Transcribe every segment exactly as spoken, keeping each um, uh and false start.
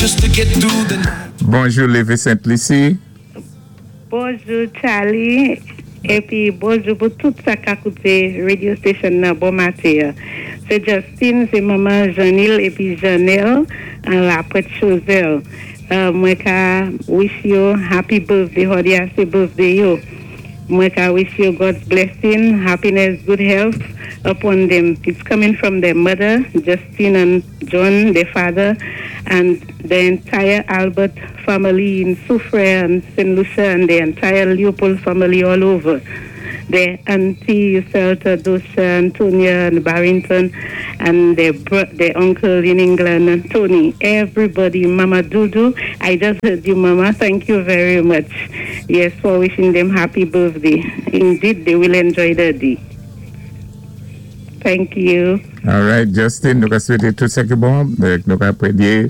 Just to get through the night. Bonjou, Lévé Sainte-Lucie. Bonjou, Charlie. Épi bonjou pou tout sa ka kouté radio station nan bon maten. Sé Justine, sé manman Janil épi Janelle an la Pointe Choiseul. Euh, mwen ka wish you happy birthday, jòdi a sé birthday yo. Mwen ka wish you God's blessing, happiness, good health upon them. It's coming from their mother, Justine and John, their father, and the entire Albert family in Soufrière and Saint Lucia and the entire Leopold family all over. Their auntie, Celta, Dosha, Antonia, and Barrington, and their bro- their uncle in England, Tony. Everybody, Mama Dudu. I just heard you, Mama. Thank you very much. Yes, for wishing them happy birthday. Indeed, they will enjoy the day. Thank you. All right, Justin, nou ka swété tout sa ki bon. Donk, nou ka pwédyé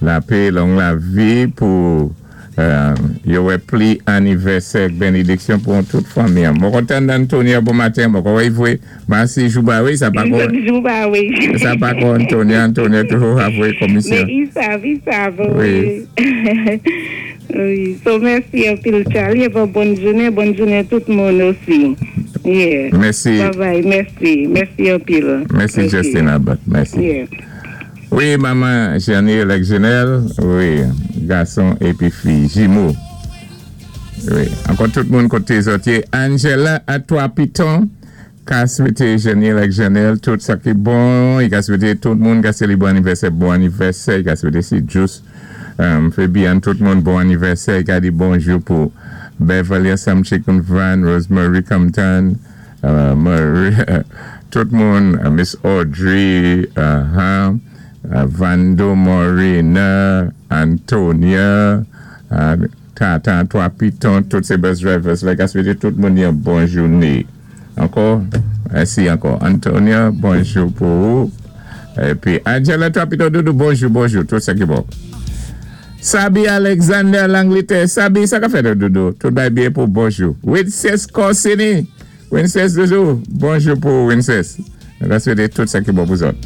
lapé, long lavi pou euh, yo wè pli anivèsè, bénidiksyon pou tout fanmi. Mwen kontan Antonia bon maten, mwen kwè vwé, mèsi Jouba, wi, sa pa kon, Jouba, wi. Sa pa kon Antonia, Antonia toujou avwé komisyon. Mais ils savent, ils savent. Wi. Wi. Wi. So, mèsi anpil, Charlie. Et bonne journée, bonne journée tout moun osi. Yeah. Mèsi. Bye bye. Mèsi. Mèsi anpil. Mèsi Ok. Justin Albert, mèsi. Yeah. Wi, manman Janelle ak Janelle, wi, gason épi fi, jimo. Wi, ankò tout moun koté zòt yé. Angela à Trois Pitons, ka swété Janelle ak Janelle tout sa ki bon, i ka swété tout moun ka sélibré anivèsè, bon anivèsè, i ka swété si just um, Fabian, tout moun bon anivèsè, i ka di bonjou pou Beverly Assam Chicken Van, Rosemary Compton, uh, Marie, tout moun, uh, Miss Audrey, uh-huh, uh, Vando Morena, Antonia, uh, Tata, Trois Pitons, tout sé bus drivers, la ka swété tout moun yon bon jouné. Ankò, mèsi ankò. Antonia, bonjou pou ou. Épi Angela, Trois Pitons, Doudou, bonjou, bonjou, tout sa ki bon. Sabi Alexander Langleterre, Sabi, sa ka fèt Doudou? Tout bay byen pou bonjou. Winces Corsini, Winces Doudou, bonjou pou Winces. Nou ka swété tout sa ki bon pou zòt.